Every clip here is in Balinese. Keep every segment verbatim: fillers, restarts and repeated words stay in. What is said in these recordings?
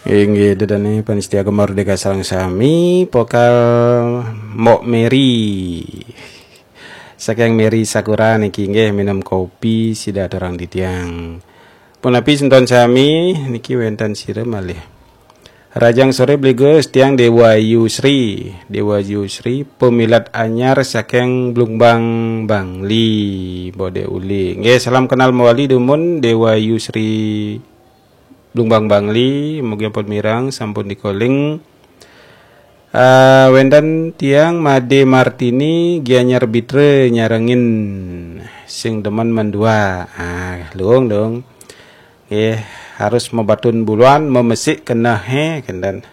Inggih, ida dané pamiarsa Gema Merdeka sareng sami, pokal Mbok Meri. Saking Meri Sakura niki nggih minum kopi sida aturang titiang. Punapi semeton sami niki wénten sira malih. Rahajeng soré Bli Gus, tiang Déwa Yusri. Déwa Yusri, pemilat anyar saking Blumbang Bangli, Mbok Dék Uli. Nggih, salam kenal mawali dumun Déwa Yusri Blumbang Bangli, mugi ampun mireng, sampun di-calling. Ah, wénten tiang Madé Martini, Gianyar Bitra nyarengin sing demen mendua. Ah, luung dong. Nggih, harus mabatun buluan, mamesik kenehé, kénten.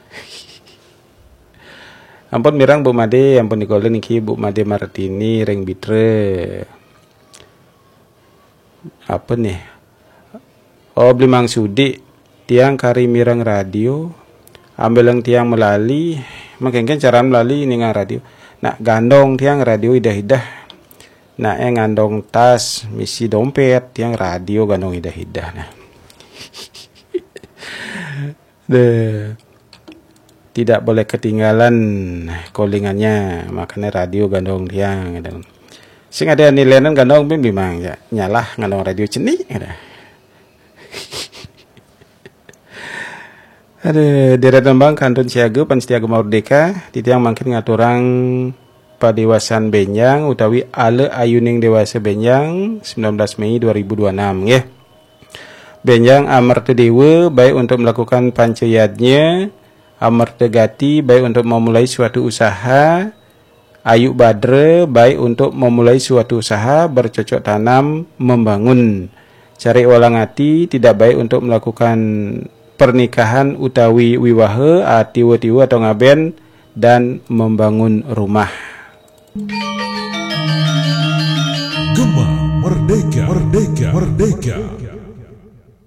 Ampun mireng Bu Madé, ampun di-calling niki Bu Madé Martini ring Bitra. Apa nih? Oh, Bli Mangsudi, tiang kari mireng radio, ambileng tiang malali, makéngkén caran malali ningang radio. Nak gandong tiang radio idah-idah. Nak eh ngandong tas, misi dompét, tiang radio gandong idah-idah. Nah. Deh. Tidak boleh ketinggalan callingannya, makanya radio gandong tiang, gitu. Sing ada nilainan gandong pun bimang ya, nyalah gandong radio cenik, gitu. Ada deret tembang kantun siaga, pamiarsa Gema Merdeka, titiang mangkin ngaturang padéwasan bénjang utawi ala ayuning déwasa bénjang, sembilan belas Mei dua ribu dua puluh enam, nggih. Bénjang Amerta Déwa, baik untuk melakukan panca yadnya, Amerta Gati, baik untuk memulai suatu usaha, Ayu Badra, baik untuk memulai suatu usaha, bercocok tanam, membangun. Cari Walang Ati, tidak baik untuk melakukan pernikahan utawi wiwaha, atiwa-tiwa atau ngaben, dan membangun rumah. Gema Merdeka, Merdeka, Merdeka.